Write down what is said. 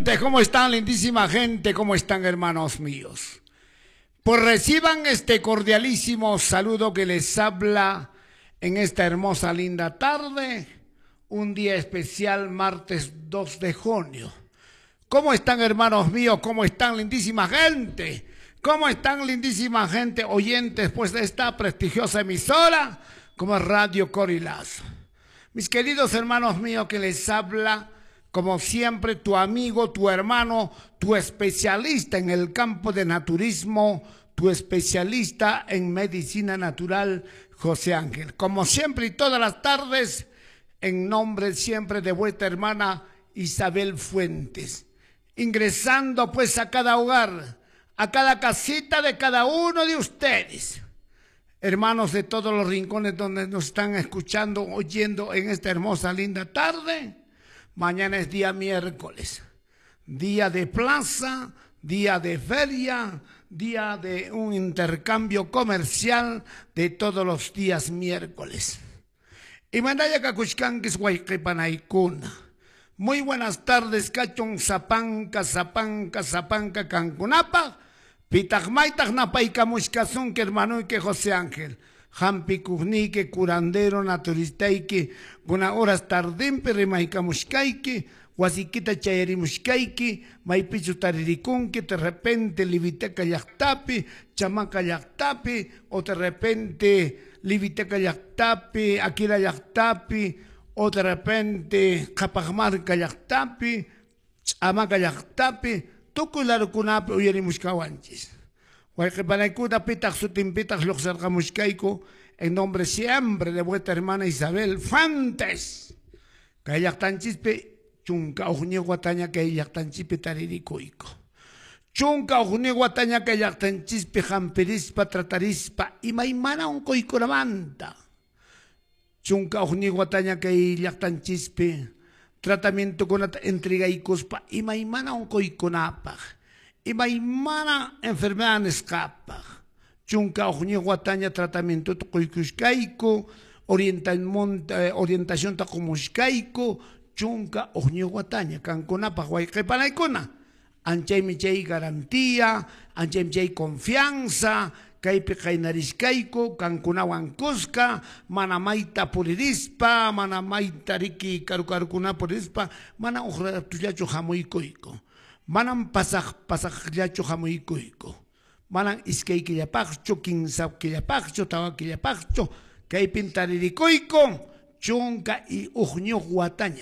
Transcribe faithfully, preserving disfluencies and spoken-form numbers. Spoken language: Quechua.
Oyentes, ¿cómo están, lindísima gente? ¿Cómo están, hermanos míos? Pues reciban este cordialísimo saludo que les habla en esta hermosa, linda tarde, un día especial, martes dos de junio. ¿Cómo están, hermanos míos? ¿Cómo están, lindísima gente? ¿Cómo están, lindísima gente, oyentes, pues, de esta prestigiosa emisora como Radio Corilazo? Mis queridos hermanos míos, que les habla, como siempre, tu amigo, tu hermano, tu especialista en el campo de naturismo, tu especialista en medicina natural, José Ángel. Como siempre y todas las tardes, en nombre siempre de vuestra hermana Isabel Fuentes. Ingresando pues a cada hogar, a cada casita de cada uno de ustedes. Hermanos de todos los rincones donde nos están escuchando, oyendo en esta hermosa, linda tarde. Mañana es día miércoles, día de plaza, día de feria, día de un intercambio comercial de todos los días miércoles. Y mandaya kakushkankis wayqipanaykuna. Muy buenas tardes, kachun sapanka, sapanka, sapanka kankunapaq. Pitaq maytaq napaykamushkasunki hermanuyki José Ángel. Hampikuqniyki, curandero, naturistayki, kuna horas tardinpi rimaykamushkayki, wasikita chayarimushkayki, maypichu taririkunki, de repente Liviteca llaqtapi, Chamaca llaqtapi, o de repente Liviteca llaqtapi, Aquila llaqtapi, o de repente Qhapaqmarka llaqtapi, Ch'amaca llaqtapi, tukuy larukunapi uyarimushkawanchis. Wayqipanaykuna pitaq sutinpitaq lluqsirqamushkayku en nombre siempre de vuestra hermana Isabel Fuentes. Kay llaqtanchispi chunka hukniyuq wataña kay llaqtanchispi taririkuyku. Chunka hukniyuq wataña kay llaqtanchispi hampirispa tratarispa imaymana unquykunamanta. Chunka hukniyuq wataña kay llaqtanchispi tratamientokunata entregaykuspa imaymana unquykunapaq, imaymana enfermedad nisqapaq. Chunka hukniyuq wataña tratamientota quykushkayku, orientacionta qumushkayku, chunka hukniyuq wataña kankunapaq wayqipanaykuna. Anchaymi chay garantía, anchaymi chay confianza, kaypi qaynarishkayku, kankunawan kuska, mana mayta puririspa, mana mayta riki karu karukuna puririspa, mana huk ratullachu hamuykuyku. Manam pasaq pasaqllachu hamuykuyku. Manam iskay killapaqchu, kimsa killapaqchu, tawa killapaqchu, kaypin taririkuyku, chunka y hukniyuq wataña.